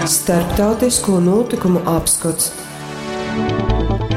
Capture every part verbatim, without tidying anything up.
Starptautisko notikumu apskots.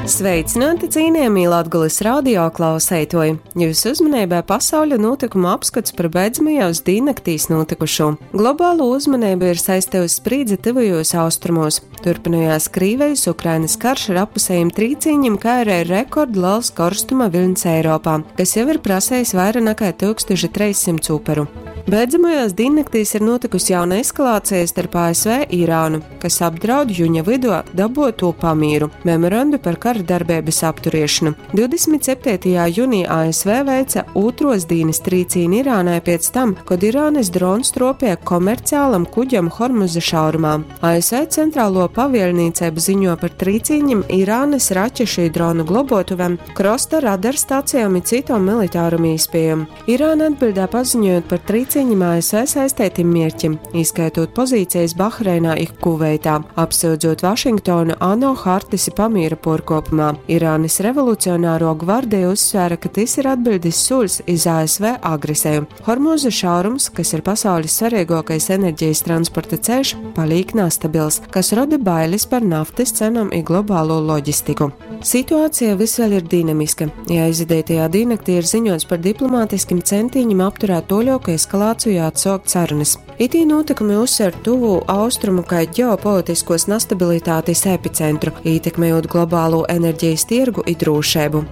Sveicināti, cienījamie Latgulas radio klausētoji! Jūsu uzmanībai pasauļa notikumu apskats par beidzamajos dīnnaktīs notikušo. Globālo uzmanību ir saistījusi sprīdze tuvajos austrumos. Turpinājās Krīvijas Ukrainas karš ar apusējiem trīcīņiem, kā arī rekordliels karstuma vilnis Eiropā, kas jau ir prasējis vairāk nekā tūkstoš trīssimtus uperu. Beidzamajās diennaktīs ir notikusi jauna eskalācija starp A S V i Irānu, kas apdraud juņa vidū daboto pamīru memorandu par kara darbības apturiešanu. divdesmit septītajā jūnijā A S V veica otros dīnas trīcīni Irānai pēc tam, kad Irānas drons tropēja komerciālam kuģam Hormuza šaurumā. A S V centrālo pavielnīcību ziņo par trīcīņiem Irānas raķešu i dronu globotuvēm, krosta radarstacijām i citom militārum īspējām. Irāna atbildē paziņojot par trīcīņiem A S V saistētim mierķim, ieskaitot pozīcijas Bahreinā i Kuveitā, apsūdzot Vašingtonu ANO hartis i pamīra porkopumā. Irānas revolucionāro gvardiju uzsvēra, ka tas ir atbildes sūls iz A S V agresiju. Hormuza šaurums, kas ir pasaules svarīgākais enerģijas transporta ceļš, paliek nestabils, kas rada bailes par naftas cenām i globālo loģistiku. Situācija vis vēl ir dinamiska. Ja aizidētajā diennaktī ir ziņots par diplomātiskim centiņiem apturēt toļoku eskalāciju, atsaukt sarunas. Itī notikumi uzsver tuvu austrumu kā ģeopolitiskos nestabilitātes epicentru, ietekmējot globālo enerģijas tirgu i drošību.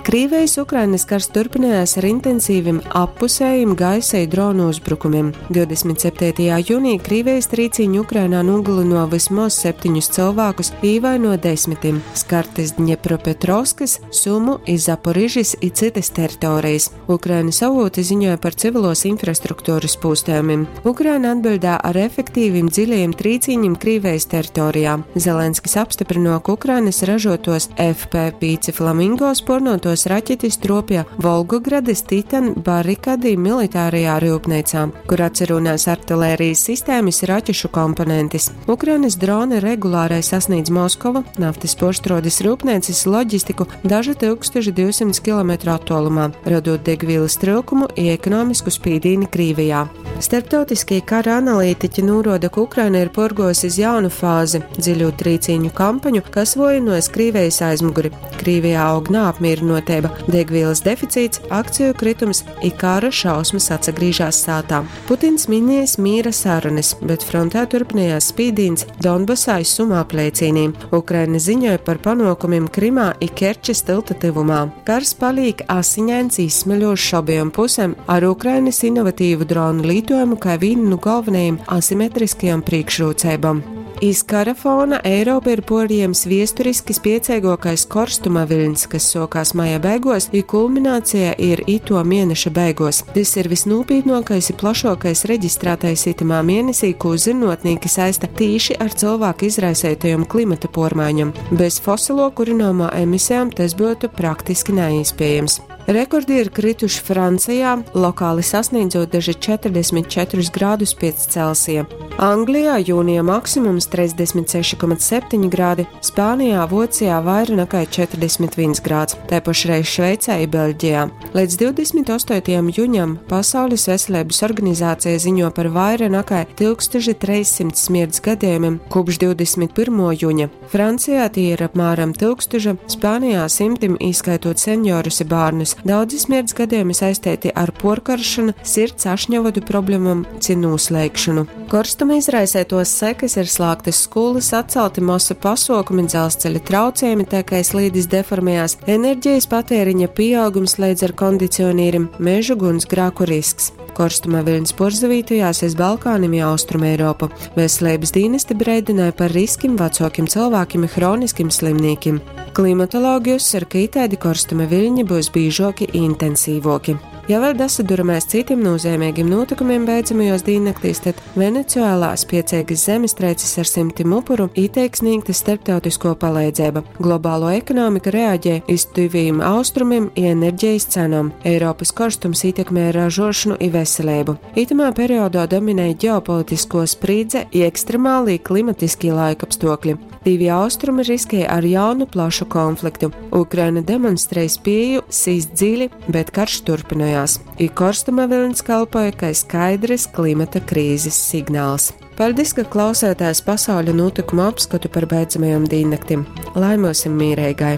Krīvijas Ukrainas karš turpinājās ar intensīviem appusējiem gaisa i dronu uzbrukumiem. divdesmit septītajā jūnijā Krīvijas trīcīņi Ukrainā nogalino vismaz septiņus cilvēkus, īvaino desmitim, skartas Dņepropetrovskas, Sumu, i Zaporižis i citas teritorijas. Ukrainas avoti ziņoja par civilos infrastruktūras pūstējumiem. Ukraina atbildē ar efektīviem dziļajiem trīcīņiem Krīvijas teritorijā. Zelenskis apstiprino, ka Ukrainas ražotos F P pieci Flamingo spornotos raķetis tropja Volgogrades Titan barikadī militārajā rūpnīcā, kur atcerunās artilērijas sistēmas raķešu komponentis. Ukrainas droni regulārai sasniedz Moskovu, naftas porštrodes rūpnīcas loģistiku dažu tūkstoš divsimt kilometru attālumā, radot degvielas trūkumu i ekonomisku spīdīni Krīvijā. Starptautiskie kara analītiķi noroda, ka Ukraina ir porgojusi iz jaunu fāzi – dziļu trīcīņu kampaņu, kas vojinojas Krīvijas aizmuguri. Krīvijā aug neapmierinotība, degvielas deficīts, akciju kritums i kara šausmas atsagrīžās sātā. Putins minējis mīra sarunas, bet frontē turpinājās spīdīns Donbasā i Sumā apliecīnī. Ukraina ziņoja par panokumiem Krimā i Kerčes tilta tuvumā. Kars paliek asiņains, izsmeļošs abiem pusēm ar Ukrainas inovatīvu dronu lītojumu kā vienu no galvenajiem asimetriskajām priekšrocībām. Iz kara fona Eiropa ir porījams viesturiski spiecīgākais korstuma viļņs, kas sokās maija beigos, i kulminācija ir ito mēneša beigos. Tas ir visnūpītnākais i plašākais reģistrētais itamā mēnesī, ko zinātnieki saista tīši ar cilvēku izraisītajām klimata pormaiņām. Bez fosilo kurināmā emisijām tas būtu praktiski neiespējams. Rekordi ir krituši Francijā, lokāli sasniedzot daži četrdesmit četrus grādus pēc Celsija. Anglijā jūnija maksimums trīsdesmit seši komats septiņi grādi, Spānijā, Vācijā vairāk nekā četrdesmit viens grāds, tā pašreiz Šveicē i Beļģijā. Līdz divdesmit astotajam jūnijam Pasaules veselības organizācija ziņo par vairāk nekā tūkstoš trīssimtus smirts gadījumiem kopš divdesmit pirmā jūņa. Francijā tie ir apmēram tūkstoš, Spānijā simtim, īskaitot seniorus i bērnus. Daudzi smirts gadījumi saistīti ar porkaršanu, sirds ašņavadu problēmām ci nūslēgšanu. Korstuma izraisētos sekas ir slēgtas skolas, atcelti masu pasokumi, dzelzceļa traucējumi, tā kā slīdis deformējās, enerģijas patēriņa pieaugums līdz ar kondicionierim, mežu gunsgrāku risks. Korstuma viļņs porzavītojās iz Balkānim i Austrum Eiropu. Veselības dienesti breidināja par riskim vecākiem cilvēkiem i hroniskim slimnīkim. Klimatologi uzsver, ka itādi korstuma viļņi būs bīžoki i intensīvoki. Ja vēl dasaduramies citiem nozīmīgiem notikumiem beidzamajos diennaktīs, tad Venecuēlā spiecīgas zemestrīces ar simtiem upuru itiek sniegta starptautisko palīdzība. Globālo ekonomika reaģē iz tuvajiem austrumiem i enerģijas cenām. Eiropas korstums ietekmē ražošanu i veselību. Itamā periodā dominēja ģeopolitisko sprīdze i ekstremālī klimatiskie laikapstākļi. Divi austrumi riskēja ar jaunu plašu konfliktu. Ukraina demonstrēja spēju sist dziļi, bet karš turpinājās. I korstuma vilnis kalpoja kā skaidrs klimata krīzes signāls. Paldies, ka klausētājs pasauļa notikumu apskatu par beidzamajom dīnnaktim. Lai myusim mīreigai!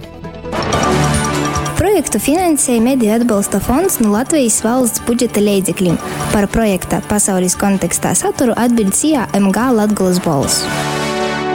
Projektu finansēja Mediju atbalsta fonds no Latvijas valsts budžeta leidzekļiem. Par projekta pasaules kontekstā saturu atbild SIA M G Latgolas Bolss.